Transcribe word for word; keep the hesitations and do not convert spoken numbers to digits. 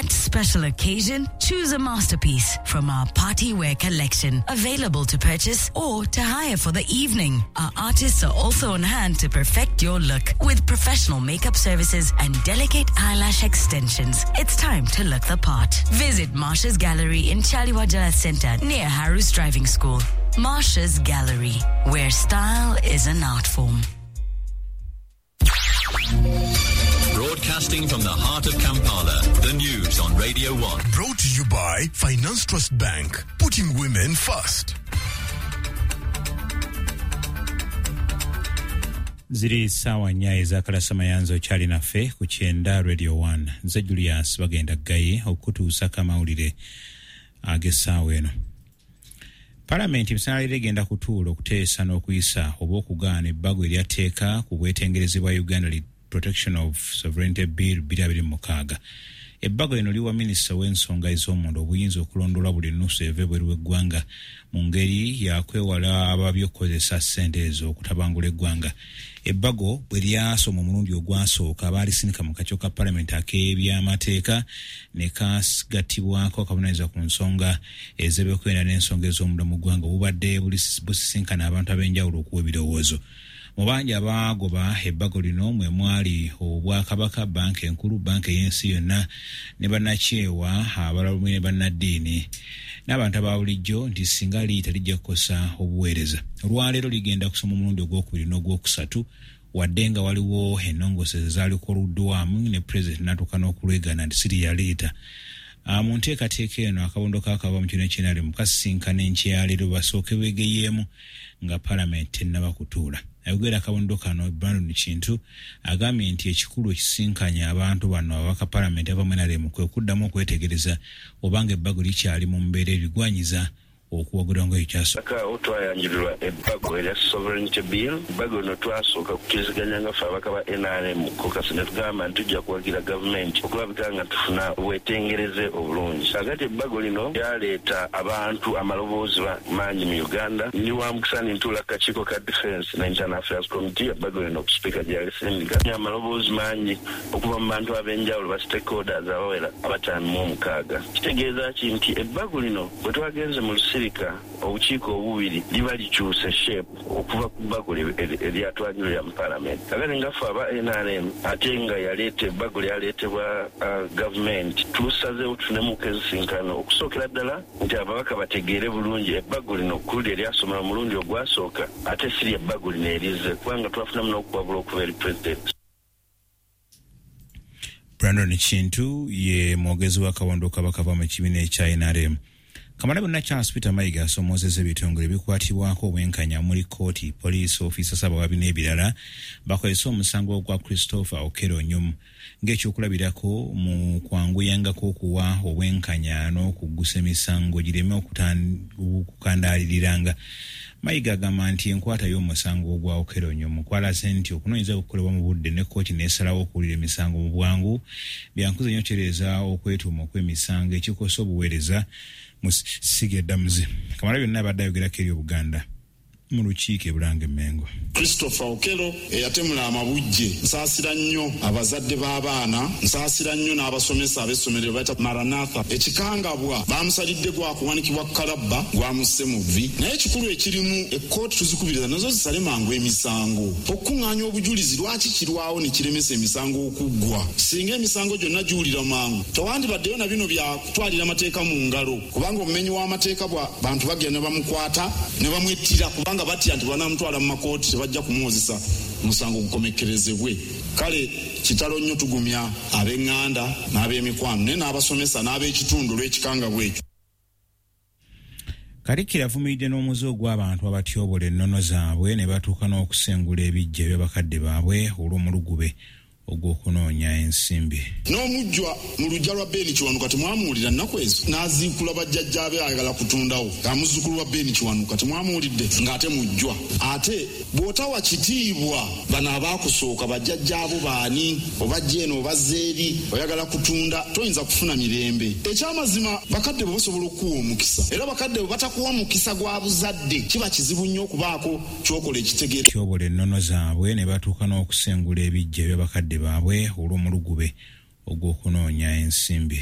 Special occasion, choose a masterpiece from our party wear collection, available to purchase or to hire for the evening. Our artists are also on hand to perfect your look with professional makeup services and delicate eyelash extensions. It's time to look the part. Visit Marsha's Gallery in Chaliwajala Center near Haru's Driving School. Marsha's Gallery, where style is an art form. Broadcasting from the heart of Kampala, the news on Radio one. Brought to you by Finance Trust Bank, putting women first. Ziri sawa nnya ezakalasa mayanzo kyali naffe ku kyenda Radio one. Nze Julius bagenda Gaye okutuusako amawulire ag'essaawa eno. Palamenti misanalire egenda kutuula okuteesa n'okuyisa oba okugaana ebbago eryatteeka ku bwetengerezi bwa Uganda Protection of Sovereignty Bill bbiri abiri mu mukaaga. Ebbago lino liwa minisita w'ensonga ez'omunda obuyinza okulondoola buli nnusu eva ebweru w'eggwanga mu ngeri yakwewala ababi okukozesa ssente ezo okutabangula eggwanga. Ebbago bwe lyasoma omulundi ogwasooka baalisindika mu kakiiko ka palamenti ak'ebyamateeka ne kagattibwako akavunaanyizibwa ku nsonga ez'ebyokwerinda n'ensonga ez'omunda mu ggwanga obubadde busisinkana abantu ab'enjawulo okuwa ebirowoozo. Mu bangi abaagoba ebbago lino mwe mwali Obwakabaka, Banka Enkulu, Banka ey'ensi yonna ne bannakyewa abalala ne bannaddiini n'abantu aba bulijjo nti singa liyita lijja kukosa obuweereza. Olwaleero ligenda kusoma omulundi ogwokubiri n'ogwokusatu wadde nga waliwo ennongooseze ezaalikoluddwamu ne pulezidenti n'atuuka n'okulwegaana nti siriyaleeta. Mu nteekateeka eno akabondo k'akava mu kino eky'N R M kasisinkana enkya leero basooke beegeyeemu nga palamenti tennaba kutuula. Ayogera akabondo kano Brandon Kintu agambye nti ekikulu ekisinkanya abantu bano ababaka palamenti ava mu N R M kwe kuddamu okwetegereza obanga ebbago likyali mu mbeera ebigwanyiza okuwagirwa nga ekyaso. Awo twayanjulirwa ebbago erya Sovereignty Bill. Ebbago lino twasooka kukkiriziganya nga ffe ababaka ba N R M caucus ne tugamba nti tujja kuwagira gavumenti okulabika nga tufuna obwetengereze obulungi. Kaakati ebbago lino lyaleeta abantu amaloboozi mangi mu Uganda. Ndi wa mukisa ntuula ku kakiiko ka Defense na Internal Affairs Committee. Ebbago lino sipiika gyalisindika amaloboozi mangi okuva mu bantu ab'enjawulo ba stakeholders abawera abataano mu omukaaga. Kitegeeza ki nti ebbago lino bwe twagenze mu lusirika obukiiko obubiri liba likyuse shape okuva ku bbago eryatwanjulira mu palamenti. Kakati nga ffe aba N R M ate nga yaleeta ebbago lyaleetebwa gavumenti, tusazeewo tufunemu ensisinkano okusookera ddala nti ababaka bategeere bulungi ebbago lino kuli eryasomera omulundi ogwasooka ate si lye ebbago lino erizze, kubanga twafunamu n'okuwabula okuva eri pulezidenti. Brandon Kintu ye mwogezi w'akabondo k'abakava mu kibiina ekya N R M. Kamala bonna Charles Peter Mayiga asomoozezza ebitongole ebikwatibwako obwenkanya omuli kkooti, poliisi, ofiisa ssaabawabi n'ebirala bakozese omusango gwa Christopher Okello Onyum ng'ekyokulabirako mu kwanguyangako okuwa obwenkanya n'okuggusa emisango gireme okukandaaliriranga. Mayiga agamba nti enkwata y'omusango gwa Okello Onyum kwalaze nti okunoonyereza kukolebwa mu budde ne kkooti n'esalawo okuwulira emisango mu bwangu byankuze nnyo okutereeza okwetuuma okw'emisango ekikosa obuweereza mu ssiga eddamuzi. Kamala byonna abadde ayogerako eri Obuganda mu lukiiko e Bulange Mmengo. Christopher Okello eyatemula amabujje, nsaasira nnyo abazadde b'abaana, nsaasira nnyo n'abasomesa ab'essomero bayita Maranatha. Ekikangabwa bamusalidde gwa kuwanikibwa ku kalabba gwamusse mu vvi. Naye ekikulu ekirimu ekkooti tuzikubiriza nazo zisale mangu emisango. Okukuŋŋaanya obujulizi lwaki kirwawo ne kiremesa emisango okuggwa? Singa emisango gyonna giwulira mangu tewandibaddeyo na bino bya kutwalira amateeka mu ngalo, kubanga omumenyi w'amateeka bwa bantu bagenda ne bamukwata ne bamwettira kubanga batya nti banamutwala mu makooti tebajja kumuwozesa musango gukomekkerezebwe. Kale kitalo nnyo, tugumya ab'eŋŋanda n'ab'emikwano naye n'abasomesa n'ab'ekitundu olw'ekikangabwa ekyo. Katikkiro avumiridde n'omuze ogw'abantu abatyobola ennono zaabwe ne batuuka n'okusengula ebiggya by'abakadde baabwe olw'omulugube ogw'okunoonya ensimbi. N'omujjwa mu luggya lwa Beni Kiwanuka temwamuwulira nnaku ezo n'aziikula bajjajjaabe ayagala kutundawo. Amuzzukulu wa Beni Kiwanuka temwamuwulidde ng'ate mujjwa. Ate bw'otawa kitiibwa bano abaakusooka bajjajjaabo baani, obajja eno obazza eri, oyagala kutunda, toyinza kufuna mirembe. Ekyamazima bakadde bo basobola okukuwa omukisa, era bakadde bwe batakuwa mukisa gwa buzadde kiba kizibu nnyo okubaako ky'okola ekitegeere. Tyobola ennono zaabwe ne batuuka n'okusengula ebiggya by'abakadde baabwe olw'omulugube ogw'okunoonya ensimbi.